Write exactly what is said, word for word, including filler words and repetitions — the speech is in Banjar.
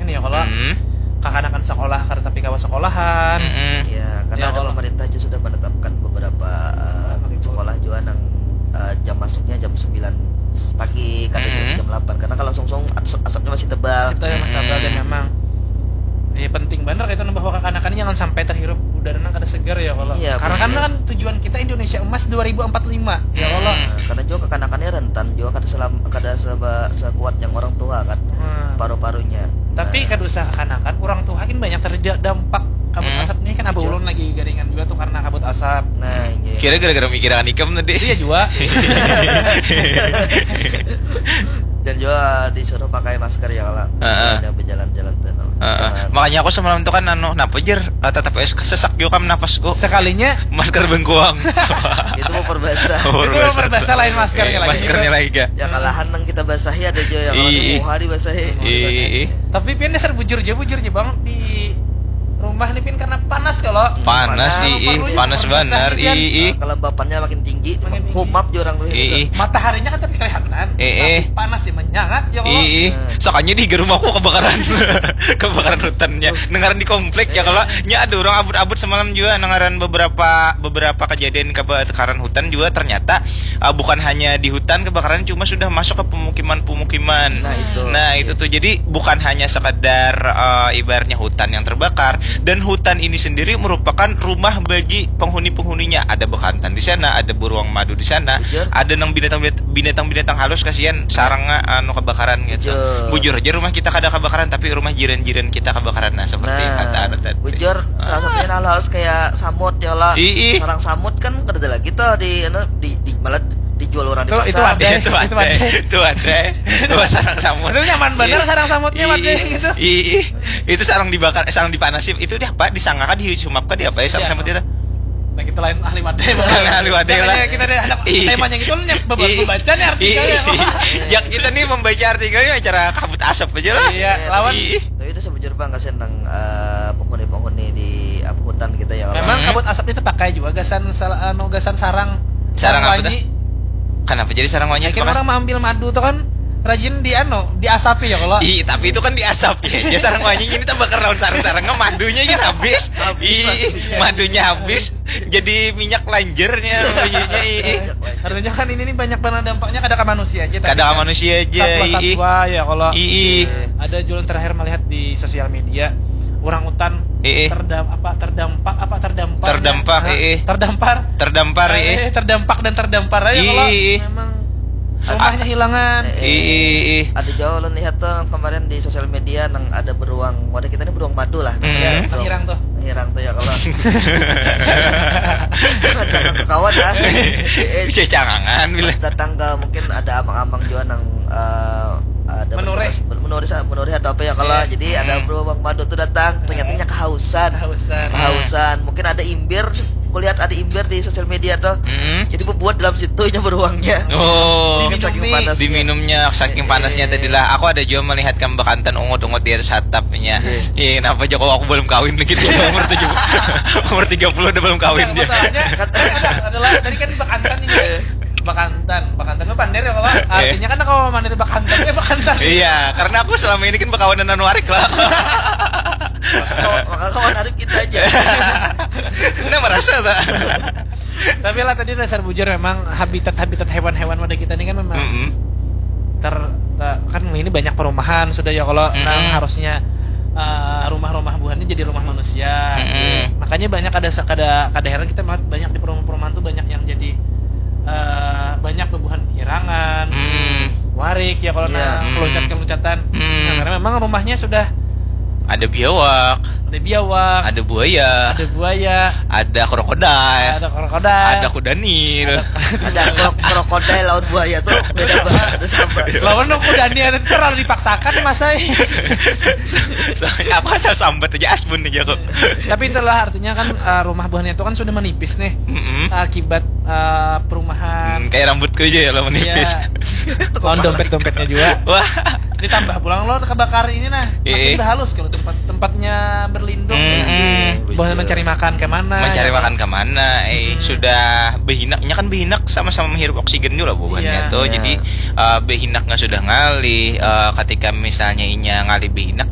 ya kalau Hmm. kakanakan sekolah kada tapi kawa sekolahan. Mm-mm. Ya, karena Ya, ada kalau- pemerintah juga sudah menetapkan beberapa uh, Sekolah libur. sekolah juga nang uh, jam masuknya jam sembilan pagi, kada Mm-mm. jam delapan, karena kalau sungsung as- asapnya masih tebal. Cipta yang mas Mm-mm. tabal dan memang ya penting banget itu bahwa kakanakan jangan sampai terhirup udara nang kada segar ya kalau Iya, karena kan, betul. Kan tujuan kita Indonesia emas dua ribu empat puluh lima ya kalau Hmm. Nah, karena juga kakanakannya rentan juga, kada selam kada seba, sekuat yang orang tua kan, Hmm. paru-parunya. Tapi Nah, kada usah kakanakan, orang tua kan banyak terdampak kabut Hmm. asap nih kan abah Iya. Ulun lagi garingan juga tuh karena kabut asap. Nah, iya. Kira gara-gara mikiran ikam tadi. Iya juga. Dan juga disuruh pakai masker ya kalau Heeh. ada berjalan-jalan tuh. No. Heeh. Jangan- Makanya aku semalam tuh kan anu, napa jer, eh, tetap es- sesak juga kam napasku. Sekalinya Masker bengkuang. Itu mau perbasah. Oh, itu perbasah. perbasah lain masker Eh, lagi. maskernya lagi ga. Ya kalahan nang kita basahi ada juga yang kalau Ih. muha dibasahi. Ih. Tapi pian dasar bujur aja, bujur aja bang di rumah nih pian karena panas kalau. Panas Panas. ih, ih, panas Panas benar pian. ih, ih. Kelembapannya makin tinggi, Makin tinggi. humap juga orang tuh. Ih, ih. Mataharinya kan tapi kelihatan, Eh, eh. Tapi panas sih menyangat ya kalau. Ih, ih. Soalnya di rumahku kebakaran. Kebakaran hutannya. Dengaran di komplek ya kalau nya ada orang abut-abut semalam juga dengaran beberapa beberapa kejadian kebakaran hutan juga ternyata uh, bukan hanya di hutan kebakaran, cuma sudah masuk ke pemukiman-pemukiman. Nah, itu. Nah, itu tuh jadi bukan hanya sekedar uh, ibaratnya hutan yang terbakar, dan hutan ini sendiri merupakan rumah bagi penghuni-penghuninya. Ada bekantan di sana, ada beruang madu di sana, Bujur. Ada nang binatang binatang halus kasihan sarangnya anu kebakaran gitu. Bujur. Bujur aja rumah kita kada kebakaran tapi rumah jiran-jiran kita kebakaran, nah seperti Nah, kata anu tadi. Bujur salah satunya halus kayak samut ya lah. Ih, ih. Sarang samut kan kada ada lagi tuh di anu di, di malah dijual orang di Tuh, pasar. itu ada. Itu ada, Itu ada. Itu ada. Wah, sarang samut. Itu nyaman bener Ih. sarang samutnya Ih, ada ih. Gitu. Ih, ih. Itu sarang dibakar, eh, sarang dipanasi. Itu dia apa? Disangka di sumap kah di apa ya sarang Iya. samut itu? Nah kita lain ahli wadai. Bukan ahli wadai Jangan lah. Ya, kita ada anak Ih. Temanya gitu nih beba- Ih. Membaca nih artikelnya. Ih. Ya kita nih membaca artikelnya acara kabut asap aja lah. Iya, lawan Ih. Tapi itu sebujur bang kasihan nang eh, penghuni-penghuni di apa hutan kita ya kalau. Memang Hmm. Kabut asap itu pakai juga gasan sal- anu gasan sarang. Sarang apa Wanyi. Kenapa jadi sarang wanyi? Akhirnya Kenapa? Orang mengambil madu tuh kan rajin di anu diasapi ya kalau. Ih, tapi itu kan diasap ya. Ya sarang wanyi ini tambah lawan sarang-sarangnya madunya aja habis. Habis Ih, madunya. Madunya habis. Jadi minyak lanjernya madunya. Ih. Artinya kan ini nih banyak banget dampaknya kada ke manusia aja. Tapi Kada ke kan manusia aja. Ih. satwa-satwa ya kalau. Ih. Ada jualan terakhir melihat di sosial media orang hutan Ih. terdam apa terdampak apa terdampak Terdampak, Hah? ih. Terdampak Terdampak ih. Eh, terdampak dan terdampar aja Ih, kalau ih, ih. Memang rumahnya hilangan. Ih, ih, ih. Ada juga ulun lihat tuh kemarin di sosial media nang ada beruang, wadah kita ini beruang madu lah. Hmm. Ya, Beruang- hirang tuh. Hirang tuh ya kalau. Jangan ke kawan ya. Eh, Bisa cangangan bila. Pas datang ke mungkin ada amang-amang juga nang eh, ada Menurih. bertugas ber- menurih sa- menurih atau apa ya kalau Iya. jadi ada Hmm. Beruang Madu tuh datang ternyata nya kehausan. Kehausan. Kehausan. Mungkin ada imbir, kulihat ada imbir di sosial media tuh. Mm-mm. Jadi bubuat dalam situ nya beruangnya. Oh. Mungkin saking Diminumi. panasnya. Diminumnya saking panasnya Eh. Tadi lah. Aku ada juga melihat kan bekantan ungut-ungut di atas atapnya. Iya, kenapa aja kok aku belum kawin lagi tuh umur tujuh umur tiga puluh udah belum kawin Nah, dia. Masalahnya kan ada, adalah tadi kan bekantan ini. Bekantan, bekantan itu pander ya kalau artinya kan kalau mana itu bekantan ya bekantan. Iya, karena aku selama ini kan bekawanan anu arik lah. Kawan- Maka kawan Arif kita aja. Nah merasa tak? Tapi lah tadi dasar bujur memang habitat-habitat hewan-hewan pada kita ini kan memang Mm-mm. ter, ter- kan ini banyak perumahan sudah ya kalau Mm-mm. nang harusnya eh, rumah-rumah buhannya jadi rumah manusia. Mm-mm. Makanya banyak ada se- kada kada heran kita melihat banyak di perumahan-perumahan tuh banyak yang jadi eh, banyak bebuhan hirangan, Mm. warik ya kalau Iya. nang Mm. keluncat-keluncat. Mm. Nah, karena memang rumahnya sudah Ada biawak, ada biawak, ada buaya, ada buaya, ada krokodil, ada krokodil, ada kudanil. Ada krok krokodil lawan buaya tuh beda banget ada sama. Lawan dong kudanil itu terlalu dipaksakan mas ay. Soalnya apa asal sambat aja asbun aja kok. Tapi itulah artinya kan eh, rumah buahnya itu kan sudah menipis nih Mm-mm. akibat eh, perumahan. Hmm, kayak rambutku aja ya lo menipis. Iya. Lawan dompet-dompetnya juga. Wah. Ditambah pulang lo kebakar ini nah. Makin Iya. Halus kalau tempat tempatnya berlindung. Mm-mm. Buahnya mencari makan kemana? Mencari Ya, makan kemana? Eh, sudah behinaknya kan behinak sama-sama menghirup oksigen juga lah buahnya Iya. tuh. Iya. Jadi eh, behinaknya sudah ngalih. Eh, ketika misalnya inya ngalih behinak